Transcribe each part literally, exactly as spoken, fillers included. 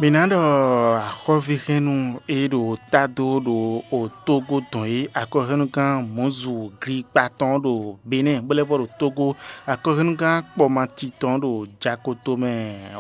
Mǐ ná ɖɔ axɔ́víhɛ́nnu e ɖo tá dó ɖo otógó dɔn é, akɔhɛ́nnugán Mɔ̌zu Glíkpa tɔn ɖo Benɛ́ɛ, bó lɛ́ vɔ ɖo Tógó, akɔhɛ́nnugán Kpɔmati tɔn ɖo Jakoto mɛ,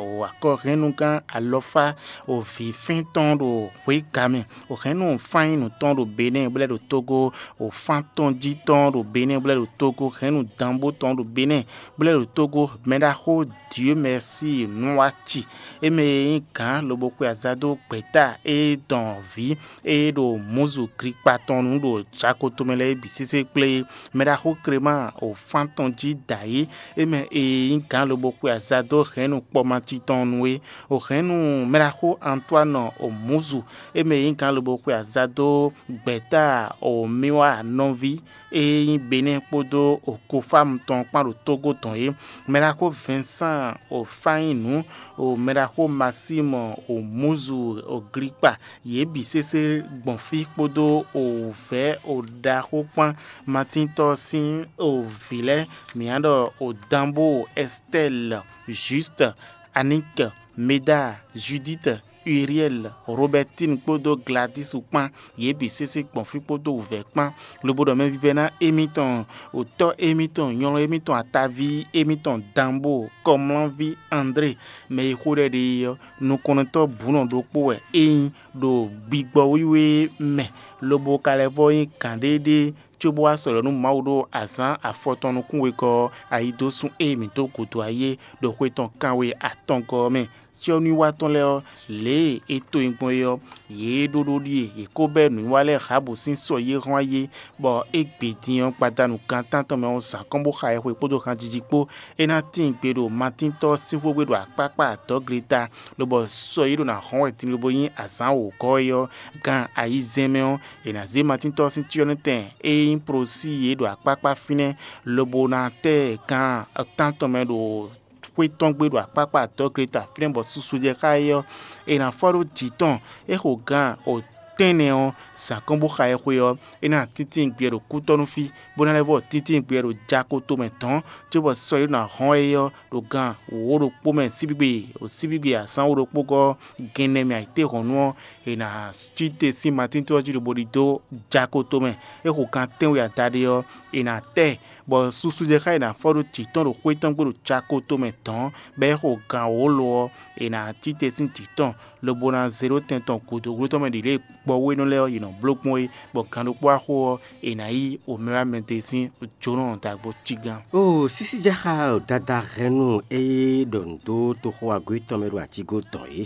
o akɔhɛ́nnugán Alɔfá o vǐfɛ́n tɔn ɖo Hwěgamɛ, o hɛ̌nnu Fanyínu tɔn ɖo Benɛ́ɛ, bó lɛ́ ɖo Tógó, o fán tɔn jí tɔn ɖo Benɛ́ɛ, bó lɛ́ ɖo Tógó, hɛ̌nnu Danbó tɔn ɖo Benɛ́ɛ, bó lɛ́ ɖo Tógó, mɛɖaxó Dieu Merci Nǔwaci, é mɛ e nyí gǎn lobo xwe aza dó gbɛ̌ta e dɔn vǐ e ɖo Mɔ̌zu Glíkpa tɔn nu ɖo Jakoto mɛ lɛ́ɛ é bǐ sésé kplé é. Mɛɖaxó Klemáa o fán tɔn jí dǎyé, é mɛ e nyí gǎn lobo xwe aza dó hɛ̌nnu Kpɔmati tɔn nu é. O hɛ̌nnu mɛɖaxó Antoine o Mɔ̌zu, é mɛ e nyí gǎn lobo xwe aza dó gbɛ̌ta o Miwa nɔví e nyí Benɛ́ɛ kpódó o Kofámu tɔn kpán ɖo Tógó tɔn é. Mɛɖaxó Vincent o Fanyínu, o mɛɖaxó Maxime o Mɔ̌zu o Glíkpa, yě bǐ sésé gbɔn fí kpódó o vɛ̌ o ɖaxó kpán Matíntɔ́ sín o vǐ lɛ́ɛ, mǐ ná ɖɔ o Danbó, Ɛstɛ́li, Jústu, Aník, Meda, Judíti, Uriɛ́li, Robɛtín kpódó Gladísu kpán, yě bǐ sésé gbɔn fí kpódó wǔvɛ́ kpán, lobo ɖɔ mɛvívɛ́ná émítɔn, otɔ́ émítɔn, nylɔ́ émítɔn, ataví émítɔn, Danbó, kɔmlánví André, mɛ e xó ɖɛ ɖe é ɔ́, nukɔntɔ́ bǔnɔ ɖokpó wɛ é nyí ɖo gbigbɔ wíwé mɛ, lobo ka lɛ́ vɔ nyí gǎnɖéɖé cóbó wá sɔ̌ nú Mawu ɖó azǎn afɔtɔn nukún wegɔ́ ɔ́, ayi dó sun e mǐ dó gǔdo ayé ɖo xwe tɔn kanwe atɔngɔ́ ɔ́ mɛ. Cyɔ́núwiwa tɔn lɛ́ɛ ɔ́, lě e é to nyi gbɔn é ɔ́, yě ɖó ɖó ɖíe; yě ko bɛ́ nǔwiwa lɛ́ɛ Rahabu sín sɔ yi é hɔn ayé, bɔ é gbe din ɔ́, gbadanu gan tántɔn mɛ ɔ́, zǎn kɔn bó xa ɛ xwe kpódó hanjiji kpó. É ná tíin gbe ɖo Matíntɔ́ sín xwé gbe ɖo akpákpá adɔ̌gleta, lobɔ sɔ yi ɖo ná hɔn wɛ din lobo nyí azǎn wǒgɔ́ é ɔ́, gan ayizɛ́n mɛ ɔ́, è nǎ zé Matíntɔ́ sín cyɔ́nɔtɛn e nyí Prosíi é ɖo akpákpá fínɛ́, lobo ná tɛ́ gan tántɔn mɛ ɖo xwé tɔn gbe ɖo akpákpá adɔ̌gleta fínɛ́, bɔ susu jɛ xá é ɔ́, è nǎ fɔ ɖó jǐ tɔn. É xo gan o tɛ́nnɛ ɔ́, zǎn kɔn bó xa ɛ xwe ɔ́, é ná tíntín gbɛ ɖo kútɔ́ nú fí, bó ná lɛ́ vɔ tíntín gbɛ ɖo jako tomɛ dɔ̌n, cóbɔ sɔ e ɖó ná hɔn é ɔ́ ɖo gan wǒ ɖokpó mɛ síbígbe, ɖo síbígbe azǎn wǒ ɖokpó gɔ́ gɛnnɛ mɛ ayǐtéhɔ̌nnu ɔ́, è nǎ cí te sín Matín ɔ́ jí lobo ɖidó jako tomɛ. É xo gan tɛ́nwe adaɖé ɔ́, è nǎ tɛ, bɔ susu jɛ xá è nǎ fɔ ɖó jǐ tɔn ɖo xwé tɔn gbe ɖo jako tomɛ dɔ̌n, bɔ é xo gan wǒ lo ɔ́, è nǎ cí te sín jǐ tɔn, lobo ná zé ɖó tɛn tɔn gǔdo gló tɔn mɛ ɖě lě gbɔwénɔ lɛ́ɛ ɔ́, yě nɔ bló gbɔn é, bɔ gan ɖokpó axo ɔ́, è nǎ yí omɛwámɛdé sín jónɔ ɖagbo cí gán. O sísíjaxá dada hɛnnu e ɖɔ nǔ dó toxo agó tɔn mɛ ɖo ajígó tɔn é.